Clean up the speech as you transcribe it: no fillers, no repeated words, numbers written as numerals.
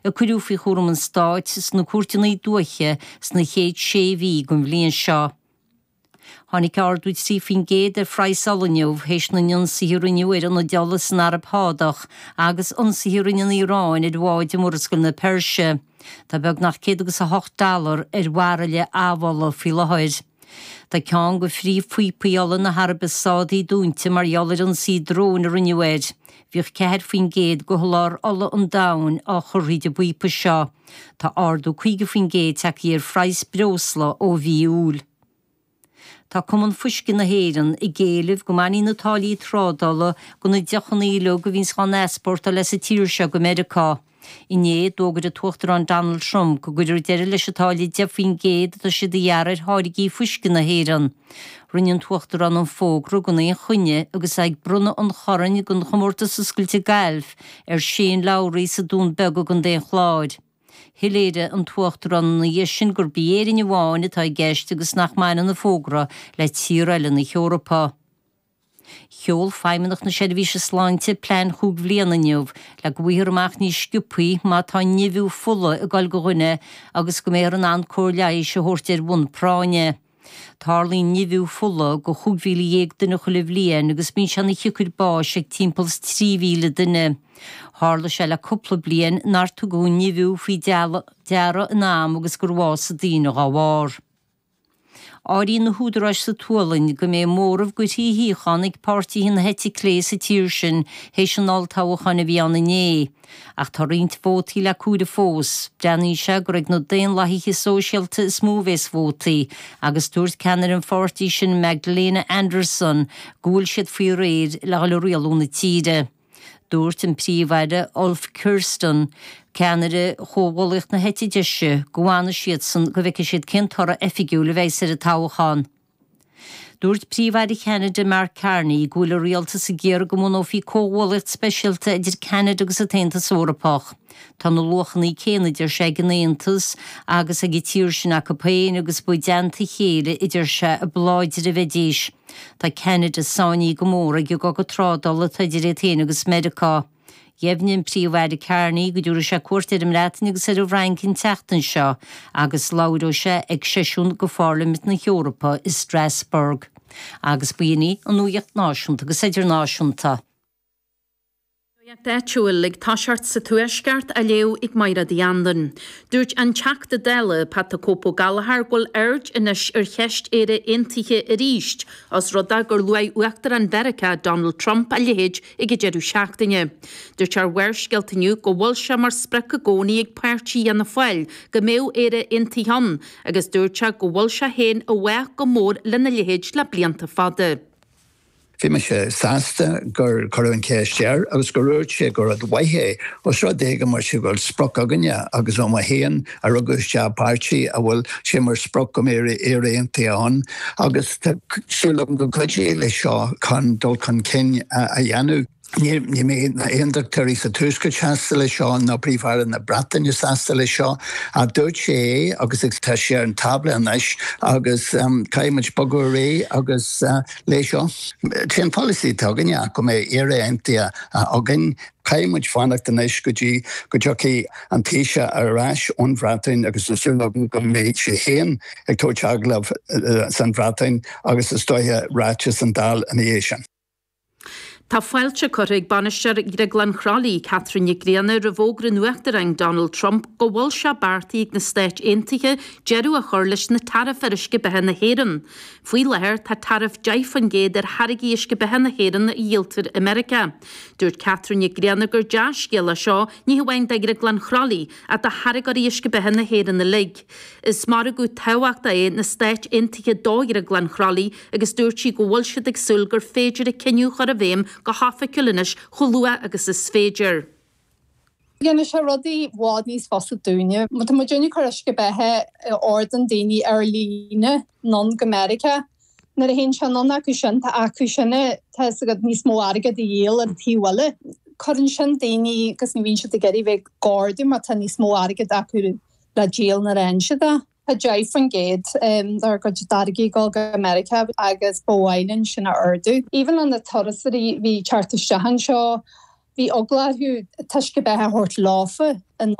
a cuireadh faoi chúram an Stáit sna cúirteanna dúiche sna chéad sé mhí den bhliain seo. Tháinig ardú 3% ar phraghas ola inniu théis na n-ionsaithe a rinneadh ar ionaid ola san Araib Shádach agus ionsaithe a rinne an Iaráin ar bháid i Murascaill na Peirse. Tá beagnach 108 dollar ar bhairille amhola faoi láthair. Tá ceann de phríomhphíopaí ola na hAraibe Sádaí dúnta mar gheall ar ionsaí dróin a rinneadh air. Bhíodh 4% de sholáthar ola an domhain á chur thríd an bpíopa seo. Tá ardú 50% tagtha ar phraghas breosla ó mhí Iúil. Tá Cumann Fuisce na hÉireann ag éileamh go mbainfí na táillí trádála de na deochanna uilig a bhíonns á n-easpórtáil as an tír seo go Meiriceá. Inné, d'fhógair an tUachtarán Donald Trump go gcuirfear deireadh leis an táille 10% atá siad a ghearradh ar tháirgí fuisce na hÉireann. Rinne an tUachtarán an fógra gan aon choinne agus é ag bronnadh an choirn don Chomórtas Oscailte Gailf ar Shane Lowry sa Dún Beag i gContae an Chláir. Shoiléirigh an tUachtarán ina dhiaidh sin gurb í Éirinn amháin atá i gceist agus nach mbaineann an fógra le tíortha eile na hEorpa. Sheol Feidhmeannacht na Seirbhíse Sláinte plean chúig bhliana inniu le go bhfaighfear amach níos sciobthaí má tá nimhiú fola ag dul do dhuine agus go mbeifear in ann cóir leighis a thabhairt ar bhonn práinne. Tarlaíonn nimhiú fola do 15,000 duine chuile bhliain agus bíonn sé ina shiocair báis ag timpeall is 3,000 duine. Tharla sé le cúpla bliain nár tugadh an nimhiú faoi deara in am agus gur bhásaigh daoine dhá bharr. Áiríonn na húdaráis sa tSualainn go mbeidh móramh de thrí shuíochán ag páirtithe na heite clé sa tír sin théis an olltoghcháin a bhí ann inné. Ach tá roinnt vótaí le comhaireamh fós. Breathnaíonn sé gur ag na Daonlathaithe Sóisialta is mó a bhéas vótaí, agus dúirt ceannaire an pháirtí sin Magdalena Andersson go bhfuil siad faoi réir le dhul ag rialú na tíre. Dúirt an Príomh-Aire Ulf Kristersson, ceannaire Chomhghuallaíocht na heite deise, go bhfanfaidh siadsan go bhfeicfidh siad cén toradh oifigiúil a bheas ar an toghchán. Dúirt Príomh-Aire Cheanada Mark Carney go bhfuil a rialtas ag iarraidh go mbunófaí comhghuallaíocht speisialta idir Ceanada agus an tAontas Eorpach. Tá na luachanna céanna, a deir sé, ag an Aontas agus ag an tír sin acu féin agus ba i dteannta a chéile, a deir sé, a ba láidre a bheidís. Tá Ceanada sáinnithe go mór ag an gcogadh trádála atá idir iad féin agus Meiriceá. Dheimhnigh an Príomh-Aire Carney go dtabharfaidh sé cuairt ar an mBreatain agus ar an bhFrainc an tseachtain seo agus labhróidh sé ag seisiún de Pharlaimint na hEorpa i Strasbourg. Agus b'in í an nuacht náisiúnta agus idirnáisiúnta. Nuacht áitiúil ag toiseacht sa Tuaisceart á léamh ag Máire Uí Anluain. Dúirt an Teachta Dála, Pat 'The Cope' Ó Gallchóir go bhfuil aird anois ar cheist Éire Aontaithe arís, os rud é gur luaigh Uachtarán Mheiriceá, Donald Trump, a leithéid ag an deireadh seachtaine. Dúirt sé ar Bharrscéalta inniu go bhfuil sé mar sprioc i gcónaí ag páirtí Fhianna Fáil go mbeadh Éire Aontaithe ann agus dúirt sé go bhfuil sé féin i bhfách go mór lena leithéid le blianta fada. Bhí mise sásta gur cuireadh an cheist air agus gur dhúirt sé gur rud mhaith é, os rud é go mbeadh sé go bhfuil sprioc againne agus ó mé féin a rugadh isteach i bpáirtí a bhfuil sé mar sprioc go mbeidh Éire Aontaithe ann agus tá súil agam go gcuideoidh leis seo chun dul chun cinn a dhéanamh. Ní mbeidh na hAondachtóirí sa Tuaisceart sásta leis seo ná Príomh-Aire na Breataine sásta leis seo ach dúirt sé é agus tá sé ar an tábla anois agus caithfidh muid bogadh ar aghaidh agus leis seo. Sé an polasaí atá againne ach go mbeidh Éire Aontaithe againn. Caithfidh muid fanacht anois go dtí go dtiocfaidh an Taoiseach ar ais ón Bhreatain agus tá súil agam go mbeidh sé féin ag tabhairt agallamh san Bhreatain agus is dóiche ráiteas san Dáil ina dhiaidh sin. Tá fáilte curtha ag bainisteoir Dhrioglann Chroithlí, Catherine Nic Grianna, roimh fhógra an Uachtaráin Donald Trump go bhfuil sé beartaithe ag na Stáit Aontaithe deireadh a chur leis na taraif ar uisce beatha na hÉireann. Faoi láthair tá taraif 10% ar tháirgí uisce beatha na hÉireann a dhíoltar i Meiriceá. Dúirt Catherine Nic Grianna gur dea-scéal é seo ní hamháin do Dhrioglann Chroithlí ach do tháirgeoirí uisce beatha na hÉireann uilig. Is margadh tábhachtach é na Stáit Aontaithe do Dhrioglann Chroithlí agus dúirt sí go bhfuil siad ag súil gur féidir an cinneadh a chur i bhfeidhm go hoifigiúil anois chomh luath agus is féidir. Dhéanfadh sé rudaí i bhfad níos fusa dúinne. Má tá muidinne ag cur uisce beatha a ordaíonn daoine ar líne anonn go Meiriceá, nuair a théann sé anonn acu sin, tá acu sin, tá fhios agat, níos mó airgead a dhíol ar an taobh eile. Cuireann sin daoine agus ní bhíonn siad ag iarraidh bheith ag ordú mar tá níos mó airgead acu le díol nuair a fhaigheann siad é. Tá 10% dár gcuid táirgí ag dul go Meiriceá agus ba mhaith linn sin a ardú. Even le na turasóirí a bhí ag teacht isteach anseo, bhí eagla orthu an t-uisce beatha a thabhairt leofa anonn.